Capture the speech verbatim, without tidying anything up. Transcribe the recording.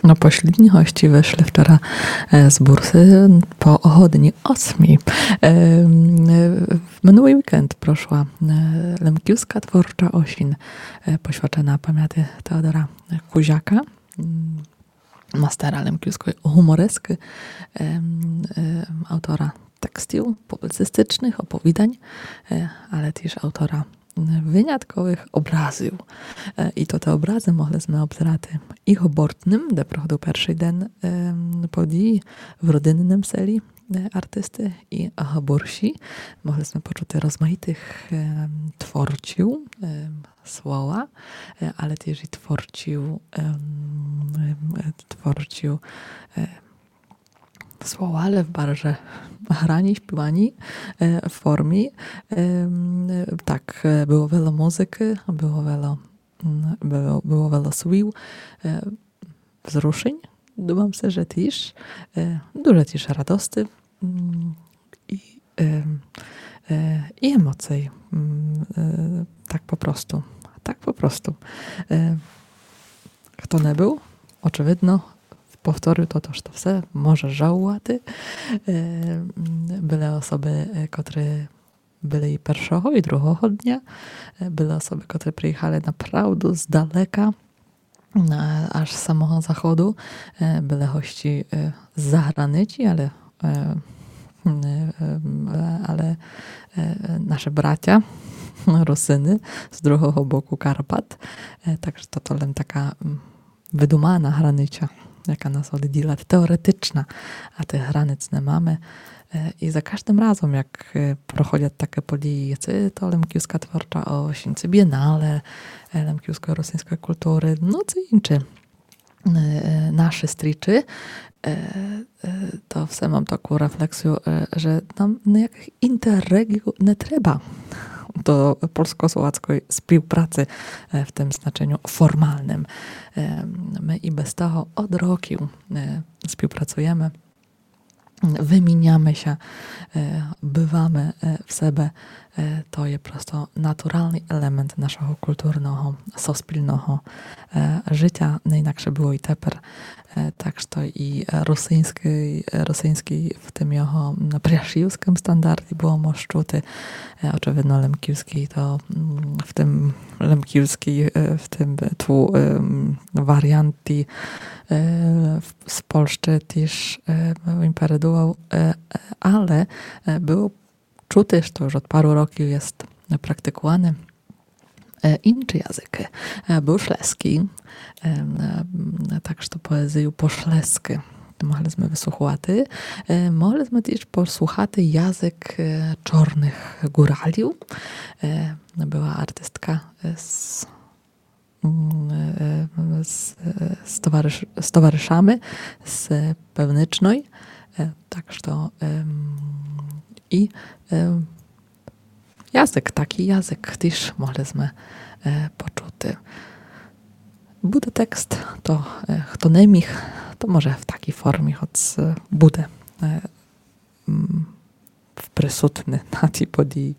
Но, послідні госці вышли вчора, е, з бурсы по годині осмій. Е, м, е, минулый вікенд прошла, е, Лемківска творча осінь, е, посвячена памяти Теодора Кузяка, м, мастера лемківской гуморескы, е, м, е, автора текстів публіцистичных, оповідань, е, але тіж автора вынятковых образів. Е, і то те образы могли сме обзерати і в Гобортным, де проходив першый ден, е, події, в родинным селі, е, артисты, і в Гоборщі. Могли сме почути розмаїтых, е, творців, е, слова, е, але тіж і творців, е, м, е, творців, е, слова, але в барже грані, співані, е, формі. Е, м, е, так, е, было вело музыкы, было вело, м, было, было вело слів, е, взрушень, думам се, же тіж, е, дуже тіж радости, м, і, е, е, і емоцій, м, е, так по просту. Так по просту. Е, Хто не быв, очевидно, повторю то, то, што все може жалувати. Е, м, были особы, е, котры были і першого, і другого дня. Е, были особы, котры приїхали направду здалека, е, аж з самого заходу. Е, были госці, е, з заграниці, але, е, е, е, але, е, наші братя, Русины з другого боку Карпат. Е, так же то, то лем така, м, выдумана границя, яка нас одділат, теоретична, а тых границ не маме. Е, і за каждым разом, як, е, проходят такы події, ци то Лемківска творча осінь, ци бієнале, е, лемківско-русиньской културы, но ци інчы, е, е, нашы стрічы, е, е, то все мам таку рефлексію, е, же нам ниякых інтерреґіюв не треба до польско-словацькой співпраци, е, в тым значеню формалным. Е, мы і без того од років, е, співпрацуєме, выміняме ся, е, бываме, е, в себе. Е, то є просто натуралный елемент нашого културного, суспільного, е, житя, не інакше было і тепер. Е, так што і, е, русиньскый, е, русиньскый в тым його, м, пряшівскым стандарті было мож чути. Е, очевидно, лемківскый то, м, в тым лемківскый, е, в тым ту, ем, варіанті, е, в, з Польщы тіж, е, імпередував, е, е, але, е, было чути, што уж од пару років єст практикуване, е, інчы языкы. Е, быв шлеськый, е, м, е, так што поезію по шлеськы могли сме выслуховати. Е, могли сме тіж послухати язык, е, чорных ґуралів. Е, была артистка, е, з, м, е, з, е, з товариш-, з товаришами з Певничной. Е, так што, ем, і, ем, язык, такій язык тіж могли сме, е, почути. Буде текст, то, е, хто не міг, то може в такій формі, хоц, е, буде, е, м, присутный на тій події.